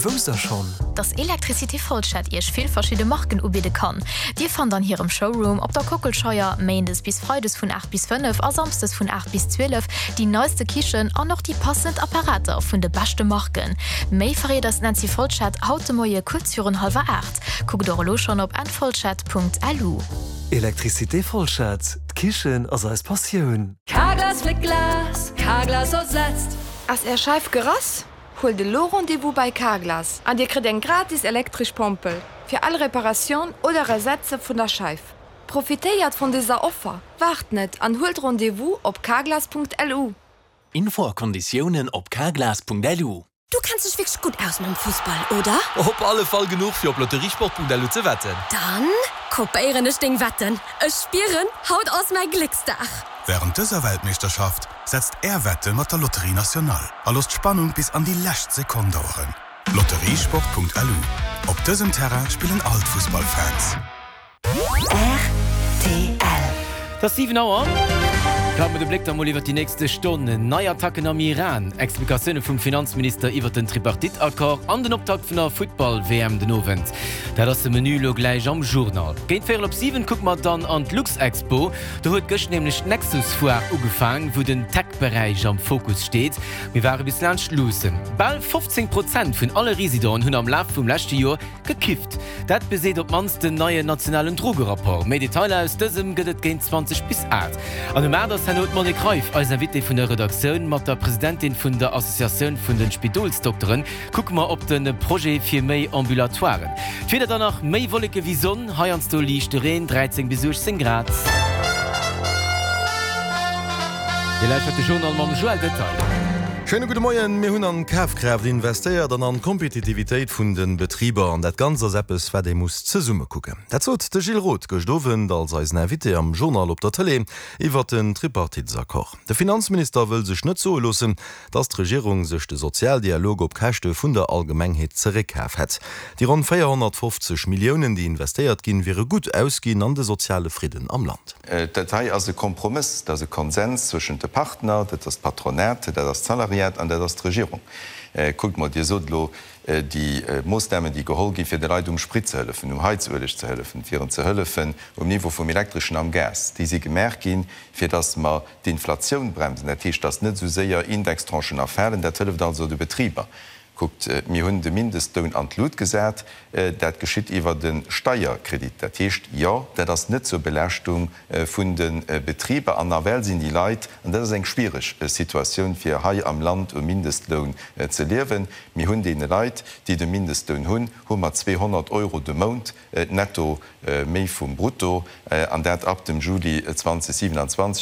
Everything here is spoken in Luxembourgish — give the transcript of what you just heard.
Wousst der schonn? Dass Electricité Folschette Iech vill verschidde Marken ubidde kann? Dir fannt an hirem Showroom op der Kockelscheier, Méindes bis Freides vun 8 bis 5 a Samsdes vun 8 bis 12, déi neiste Kichen an och déi passend Apparater vun de beschte Marken. Méi verréit eis d'Nancy Folschette haut de Moie kuerz virun hallwer 8. Kuckt och elo schonn op nfolschette.lu. Electricité Folschette, d'Kichen ass eis Passioun! Carglass fléckt Glas, Carglass ersetzt. Ass Är Scheif gerass? Huelt elo Rendez-vous bei Carglass an Dir kritt eng gratis elektresch Pompel fir all Reparatioun oder Ersetze vun der Scheif. Profitéiert vun dëser Offer, waart net an huelt Rendez-vous op carglass.lu. Info a Konditiounen op carglass.lu. Du kenns dech wierklech gutt aus mam Fussball, oder? Op alle Fall genuch fir op lotteriesport.lu ze wetten. Dann kopéieren ech deng Wetten. Ech spieren, haut ass mäi Glécksdag! Wärend dëser Weltmeeschterschaft setzt Är Wette mat der Loterie Nationale a loosst d'Spannung bis an déi lescht Sekonn daueren. Lotteriesport.lu Op dësem Terrain spillen all d'Fussballfans. Rtl. Et ass 7 Auer. Werfe mer de Bléck da mol iwwert déi nächste Stonnen. Nei Attacken am Iran, Explikatioune vum Finanzminister iwwert den Tripartite-Accord an den Optakt vun der Futtball-WM den Owend. Dat ass de Menü elo gläich am Journal. Géint véierel op 7 kucke mer dann an d'Luxexpo. Do huet gëscht nämlech d'Nexus-Foire ugefaang, wou den Tech-Beräich am Fokus steet. Mir ware bis laanscht luussen. Bal 15 Prozent vun alle Residenten hunn am Laf vum leschte Joer Gekifft. Dat beseet op d'mannst den neien nationalen Drogerapport. Méi Detailer aus dësem gëtt et géint 20 bis 8. An um 8 ass herno d'Monique Reiff eis Invitée vun der Redaktioun. Mat der Presidentin vun der Associatioun vun de Spidolsdokteren kucke mer op de Projet fir méi Ambulatoiren. D'Wieder dann nach, méi Wolleke wéi Sonn, heiansdo liichte Reen, 13 bis 18 Grad. Dir lauschtert de Journal mam Joël Detaille. Schéine gudde Moien. Mir hunn an d'Kafkraaft investéiert an an d'Kompetitivitéit vun de Betriber. An dat Ganzt ass eppes, wat ee muss zesumme kucken. Dat sot de Gilles Roth gëscht Owend als eisen Invité am Journal op der Tëlee iwwert den Tripartitesaccord. De Finanzminister wëll sech net soe loossen, datt d'Regierung sech de Sozialdialog op Käschte vun der Allgemengheet zeréckkaf hätt. Déi ronn 450 Milliounen, déi investéiert ginn, wiere gutt ausginn an de soziale Fridden am Land. Dat hei ass e Kompromëss, dat ass e Konsens zwëschent de Partner, dat ass d'Patronat, dat ass d'Salariat an dat ass d'Regierung. Kuckt mol, Dir sot elo, déi Moossnamen, déi geholl ginn, fir de Leit um Sprit ze hëllefen, um Heizueleg ze hëllefen, fir en ze hëllefen um Niveau vum Elektreschen am Gas, déi si gemaach ginn, fir datt mer d'Inflatioun bremsen. Dat heescht, datt net esou séier Indextranchen erfalen. Dat hëlleft also de Betriber. Kuckt, mir hunn de Mindestloun an d'Lut gesat. Dat geschitt iwwert e Steierkredit. Dat heescht, jo, dat ass net zur Belaaschtung vun de Betriber. An nawell sinn déi Leit, an dat ass eng schwiereg Situatioun, fir hei am Land um Mindestloun ze liewen, mir hunn deene Leit, déi de Mindestloun hunn, hu mer 200 Euro de Mount netto méi vum Brutto, an dat ab dem Juli 2027.